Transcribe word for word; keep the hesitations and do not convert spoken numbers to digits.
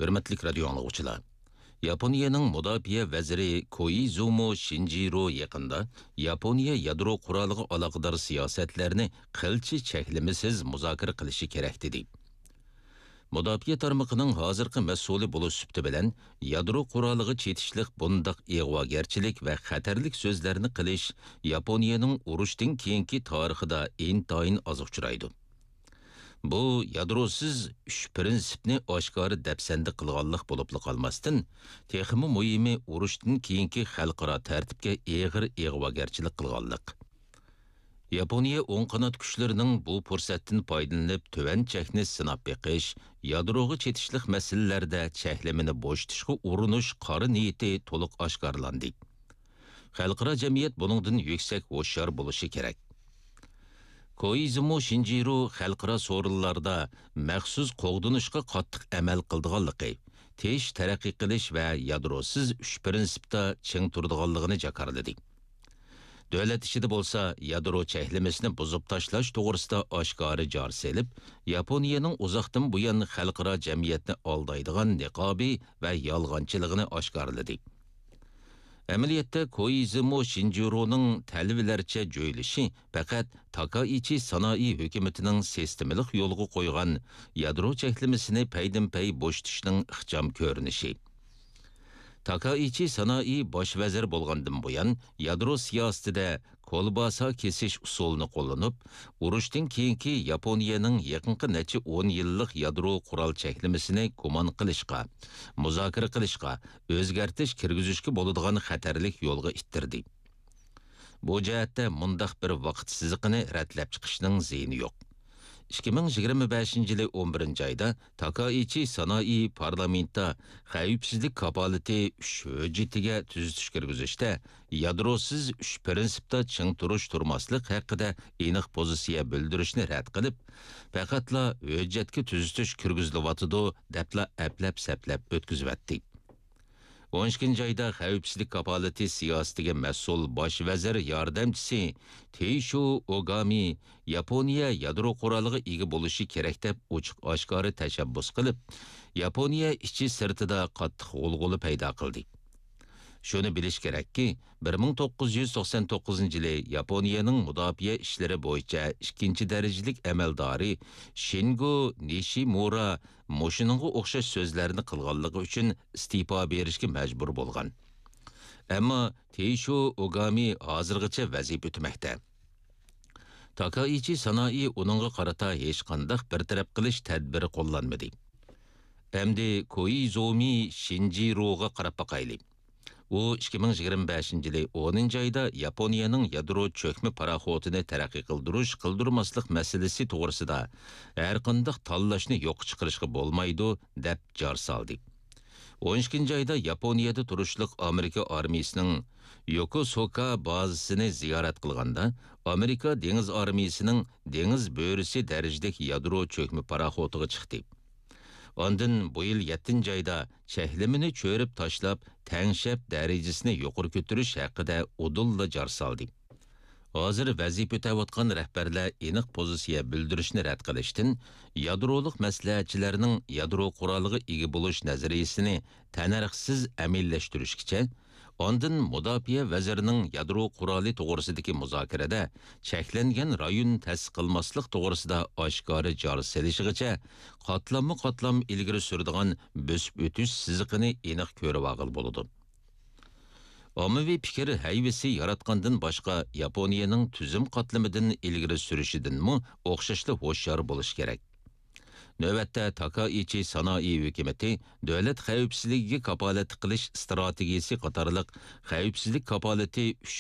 ھۆرمەتلىك رادىيو ئاڭلىغۇچىلار! ياپونىيەنىڭ مۇداپىئە ۋەزىرى كوئىزۇمو شىنجىرو يېقىندا ياپونىيە يادرو قورالىغا ئالاقىدار سىياسەتلەرنى قىلچە چەكلىمىسىز مۇزاكىرە قىلىشى كېرەك، دېدى. مۇداپىئە تارمىقىنىڭ ھازىرقى مەسئۇلى بولۇش سۈپىتى بىلەن، يادرو قورالىغا چېتىشلىق بۇنداق ئىغۋاگەرچىلىك ۋە خەتەرلىك سۆزلەرنى قىلىش ياپونىيەنىڭ ئۇرۇشتىن كېيىنكى تارىخىدا ئىنتايىن ئاز ئۇچرايدۇ. بۇ يادروسىز ئۈچ پىرىنسىپنى ئاشكارا دەپسەندە قىلغانلىق بولۇپلا قالماستىن، تېخىمۇ مۇھىمى ئۇرۇشتىن كېيىنكى خەلقئارا تەرتىپكە ئېغىر ئىغۋاگەرچىلىك قىلغانلىق. ياپونىيە ئوڭ قانات كۈچلىرىنىڭ بۇ پۇرسەتتىن پايدىلىنىپ تۆۋەن چەكنى سىناپ بېقىش، يادروغا چېتىشلىق مەسىلىلەردە چەكلىمىنى بوشىتىشقا ئۇرۇنۇش قارا نىيىتى تولۇق ئاشكارىلاندى. خەلقئارا جەمئىيەت بۇنىڭدىن يۈكسەك ھوشيار بولۇشى كېرەك. كوئىزۇمۇ شىنجىرو خەلقئارا سورۇنلاردا مەخسۇس قوغدىنىشقا قاتتىق ئەمەل قىلىدىغانلىقى، تىنچ تەرەققىي قىلىش ۋە يادروسىز ئۈچ پىرىنسىپتا چىڭ تۇرىدىغانلىقىنى جاكارلىدى. دۆلەت ئىچىدە بولسا يادرو چەكلىمىسىنى بۇزۇپ تاشلاش توغرىسىدا ئاشكارا جار سېلىپ، ياپونىيەنىڭ ئۇزاقتىن بۇيان خەلقئارا جەمئىيەتنى ئالدايدىغان نىقابى ۋە يالغانچىلىقىنى ئاشكارىلىدى. ئەمەلىيەتتە، كوئىزۇمۇ شىنجۇرونىڭ تەلۋىلەرچە جۆيلىشى پەقەت تاكائىچى سانائى ھۆكۈمىتىنىڭ سىستېمىلىق يولغا قويغان يادرو چەكلىمىسىنى پەيدىنپەي بوشىتىشنىڭ ئىخچام كۆرۈنۈشى. تاكائىچى سانائى باش ۋەزىر بولغاندىن بۇيان، يادرو سىياسىتىدە كولباسا كېسىش ئۇسۇلىنى قوللىنىپ، ئۇرۇشتىن كېيىنكى ياپونىيەنىڭ يېقىنقى نەچچە ئون يىللىق يادرو قورال چەكلىمىسىنى گۇمان قىلىشقا، مۇزاكىرە قىلىشقا، ئۆزگەرتىش كىرگۈزۈشكە بولىدىغان خەتەرلىك يولغا ئىتتىردى. بۇ جەھەتتە مۇنداق بىر ۋاقىت سىزىقىنى رەتلەپ چىقىشنىڭ زىيىنى يوق. ئىككى مىڭ يىگىرمە بەشىنچى يىلى ئون بىرىنچى ئايدا تاكائىچى سانائى پارلامېنتتا خەۋپسىزلىك كاپالىتى ئۈچ ھۆججىتىگە تۈزىتىش كىرگۈزۈشتە يادروسىز ئۈچ پىرىنسىپتا چىڭ تۇرۇش-تۇرماسلىق ھەققىدە ئېنىق پوزىتسىيە بىلدۈرۈشنى رەت قىلىپ، پەقەتلا ھۆججەتكە تۈزىتىش كىرگۈزۈلۈۋاتىدۇ دەپلا ئەپلەپ-سەپلەپ ئۆتكۈزۈۋەتتى. ئون ئىككىنچى ئايدا خەۋپسىزلىك كاپالىتى سىياسىتىگە مەسئۇل باش ۋەزىر ياردەمچىسى تېيشو ئوگامى ياپونىيە يادرو قورالىغا ئىگە بولۇشى كېرەك دەپ ئوچۇق-ئاشكارا تەشەببۇس قىلىپ، ياپونىيە ئىچى-سىرتىدا قاتتىق غۇلغۇلا پەيدا قىلدى. شۇنى بىلىش كېرەككى، بىر مىڭ توققۇز يۈز توقسان توققۇزىنچى يىلى ياپونىيەنىڭ مۇداپىئە ئىشلىرى بويىچە ئىككىنچى دەرىجىلىك ئەمەلدارى شىنگو نىشىمۇرا مۇشۇنىڭغا ئوخشاش سۆزلەرنى قىلغانلىقى ئۈچۈن ئىستېپا بېرىشكە مەجبۇر بولغان. ئەمما تېيشو ئوگامى ھازىرغىچە ۋەزىپە ئۆتىمەكتە. تاكائىچى سانائى ئۇنىڭغا قارىتا ھېچقانداق بىر تەرەپ قىلىش تەدبىرى قوللانمىدى. ئەمدى كوئىزۇمى شىنجىروغا قاراپ باقايلى. ئۇ ئىككى مىڭ يىگىرمە بەشىنچى يىلى ئونىنچى ئايدا ياپونىيەنىڭ يادرو چۆكمە پاراخوتىنى تەرەققىي قىلدۇرۇش، قىلدۇرماسلىق مەسىلىسى توغرىسىدا ھەرقانداق تاللاشنى يوققا چىقىرىشقا بولمايدۇ، دەپ جار سالدى. ئون ئىككىنچى ئايدا ياپونىيەدە تۇرۇشلۇق ئامېرىكا ئارمىيىسىنىڭ يوكوسۇكا بازىسىنى زىيارەت قىلغاندا، ئامېرىكا دېڭىز ئارمىيىسىنىڭ دېڭىز بۆرىسى دەرىجىلىك يادرو چۆكمە پاراخوتىغا چىقتى. ئاندىن بۇ يىل يەتتىنچى ئايدا چەكلىمىنى چۆرۈپ تاشلاپ، تەڭشەپ دەرىجىسىنى يۇقىرى كۆتۈرۈش ھەققىدە ئۇدۇللا جار سالدى. ھازىر ۋەزىپە ئۆتەۋاتقان رەھبەرلەر ئېنىق پوزىتسىيە بىلدۈرۈشنى رەت قىلىشتىن، يادرولۇق مەسلىھەتچىلەرنىڭ يادرو قورالىغا ئىگە بولۇش نەزەرىيىسىنى تەننەرخسىز ئەمەلىيلەشتۈرۈشكىچە، ئاندىن مۇداپىئە ۋەزىرىنىڭ يادرو قورالى توغرىسىدىكى مۇزاكىرىدە چەكلەنگەن رايون تەسىس قىلماسلىق توغرىسىدا ئاشكارا جار سېلىشىغىچە قاتلاممۇ قاتلام ئىلگىرى سۈرىدىغان بۆسۈپ ئۆتۈش سىزىقىنى ئېنىق كۆرۈۋالغىلى بولىدۇ. ئاممىۋى پىكىر ھەيۋىسى ياراتقاندىن باشقا، ياپونىيەنىڭ تۈزۈم قاتلىمىدىن ئىلگىرى سۈرۈشىدىنمۇ ئوخشاشلا ھوشيار بولۇش كېرەك. نۆۋەتتە، تاكائىچى سانائى ھۆكۈمىتى دۆلەت خەۋپسىزلىكىگە كاپالەتلىك قىلىش ئىستراتېگىيىسى قاتارلىق خەۋپسىزلىك كاپالىتى ئۈچ